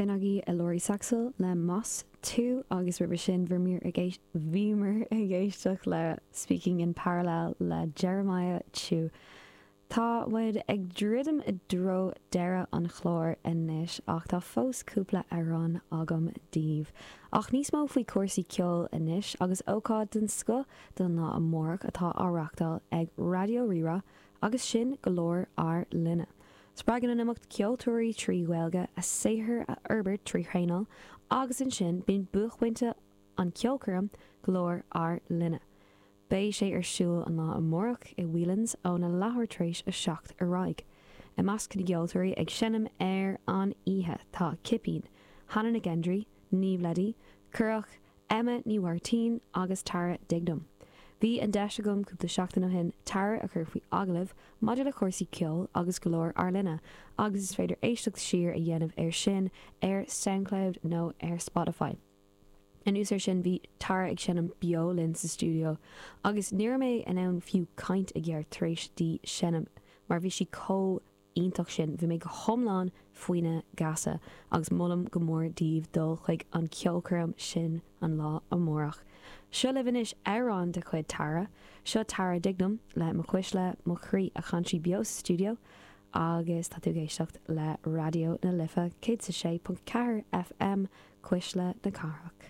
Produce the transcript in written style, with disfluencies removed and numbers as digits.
B'in agaibh Elori Saxl le Más Tú agus roimhe sin bhíomar ag éisteacht le Speaking in Parallel le Jeremiah Chiu. Tá muid ag druidim i dtreo deireadh an chláir anois ach tá fós cúpla amhrán agam daoibh. Ach níos mó faoi chúrsaí ceoil anois agus ócáid den scoth don lá amárach atá á reachtáil ag Raidió Rí-Rá agus sin Glór ár Linne. Spreagann an imeacht ceoltóirí 3 Ghaeilge a saothar a fhorbairt trí thraenáil agus ansin bíonn buaicphointe an ceolchoirm Glór ár Linne. Beidh sé ar siúl an lá amárach i Whelan's óna leathuair tar éis a 7 ar aghaidh. I measc na gceoltóirí ag seinm ar an oíche tá Cipín, Hannah Nic Ghendrí, Niamh Leddy, Currach, Emma Ní Mháirtín agus Tara Dignam. Bhí an deis agam cúpla seachtain ó shin Tara a chur faoi agallamh maidir le cúrsaí ceoil agus Glór ár Linne agus is féidir éisteacht siar a dhéanamh air sin ar Soundcloud nó ar Spotify. Anuas air sin bhí Tara ag seinm beo linn sa stiúideo agus ní raibh mé in ann fiú caint i gceart tar éis di seinm mar bhí sí chomh iontach sin. Bhí mé go hiomlán faoina geasa agus molaim go mór daoibh dul chuig an ceolchoirm sin an lá amárach. Seo libh anois amhrán de chuid Tara. Seo Tara Dignam le Mo Chuisle, Mo Chroí a chan sí beo sa stiúideo agus tá tú ag éisteacht le Raidió na Life 106.4 FM, Cuisle na Cathrach.